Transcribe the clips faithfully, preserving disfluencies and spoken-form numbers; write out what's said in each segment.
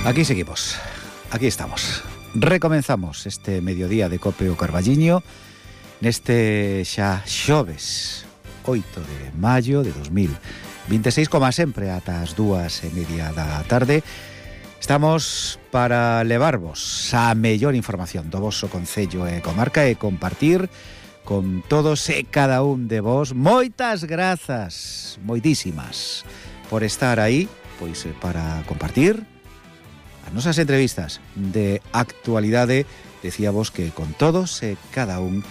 Aquí seguimos, aquí estamos. Recomenzamos este mediodía de Cope o Carballiño neste xa xoves oito de maio de dos mil vinte e seis, como sempre ata as dúas e media da tarde. Estamos para levarvos a mellor información do voso concello e comarca e compartir con todos e cada un de vos. Moitas grazas, moitísimas, por estar aí, pois para compartir as nosas entrevistas de actualidade. Decíamos que con todos e cada un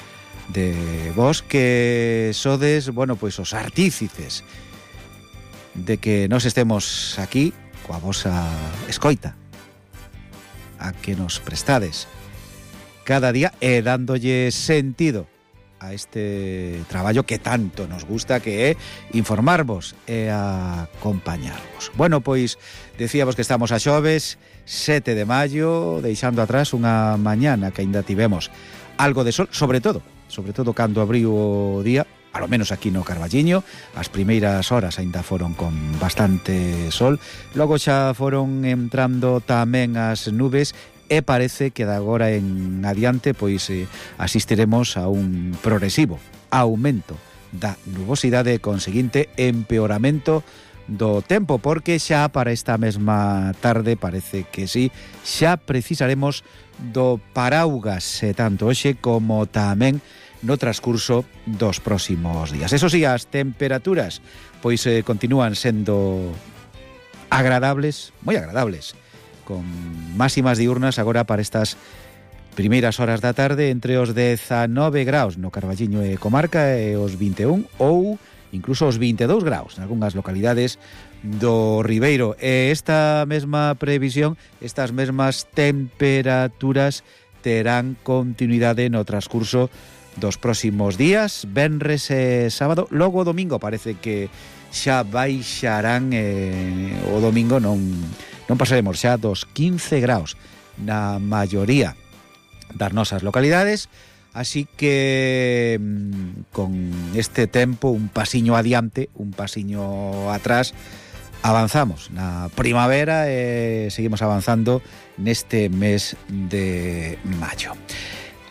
de vos que sodes, bueno, pois os artífices de que nos estemos aquí coa vosa escoita, a que nos prestades cada día e dándolle sentido a este traballo que tanto nos gusta, que é informarvos e acompañarvos. Bueno, pois decíamos que estamos a xoves sete de maio, deixando atrás unha mañana que aínda tivemos algo de sol, sobre todo, sobre todo cando abriu o día, palo menos aquí no Carballiño. As primeiras horas aínda foron con bastante sol, logo xa foron entrando tamén as nubes e parece que de agora en adiante pois eh, asistiremos a un progresivo aumento da nubosidade e conseguinte empeoramento do tempo, porque xa para esta mesma tarde parece que sí, xa precisaremos do paraugas e tanto hoxe como tamén no transcurso dos próximos días. Eso sí, as temperaturas pois eh, continúan sendo agradables, moi agradables, con máximas diurnas agora para estas primeiras horas da tarde entre os dezanove graus no Carballiño e comarca e os vinte e un ou incluso os vinte e dous graus en algunhas localidades do Ribeiro. E esta mesma previsión, estas mesmas temperaturas terán continuidade no transcurso dos próximos días, venres e sábado. Logo o domingo parece que xa baixarán, e o domingo non non pasaremos xa dos quince graus na maioría das nosas localidades, así que con este tempo un pasiño adiante, un pasiño atrás, avanzamos na primavera e seguimos avanzando neste mes de maio.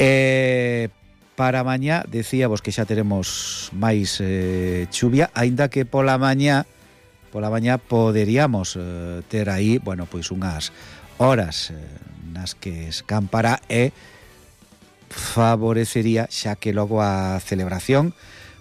E para mañá decíamos que xa teremos máis eh, chuvia, aínda que pola mañá pola mañá poderíamos eh, ter aí, bueno, pois unhas horas eh, nas que escampará e favorecería, xa que logo a celebración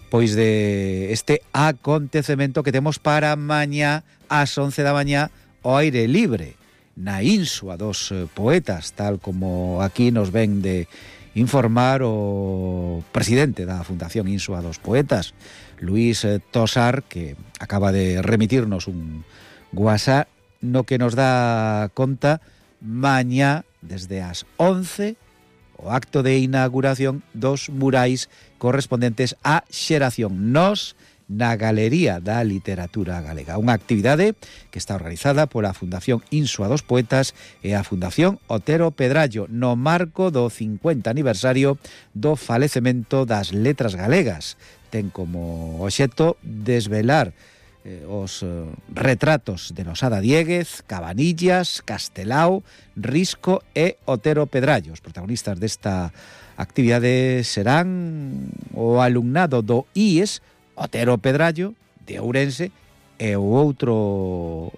pois de este acontecemento que temos para mañá ás once da mañá ao aire libre na Insua dos Poetas, tal como aquí nos ven de informar o presidente da Fundación Insua dos Poetas, Luís Tosar, que acaba de remitirnos un WhatsApp no que nos dá conta mañá desde as once o acto de inauguración dos murais correspondentes á xeración Nós na Galería da Literatura Galega, unha actividade que está organizada pola Fundación Insua dos Poetas e a Fundación Otero Pedrallo no marco do cincuenta aniversario do falecemento das letras galegas. Ten como obxecto desvelar eh, os eh, retratos de Losada Diéguez, Cabanillas, Castelao, Risco e Otero Pedrallo. Os protagonistas desta actividade serán o alumnado do I E S Otero Pedrallo de Ourense e o outro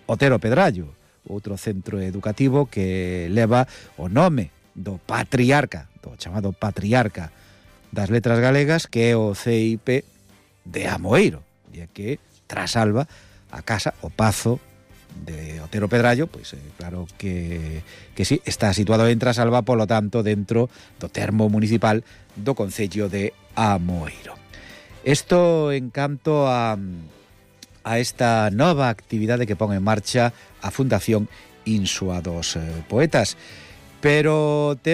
Otero Pedrallo, outro centro educativo que leva o nome do patriarca, do chamado patriarca das letras galegas, que é o C I P de Amoeiro, e que trasalba a casa, o pazo de Otero Pedrallo, pois eh, claro que, que sí, está situado en Trasalba, polo tanto dentro do termo municipal do concello de Amoeiro. Isto en canto a, a esta nova actividade que pon en marcha a Fundación Insua dos Poetas, pero temos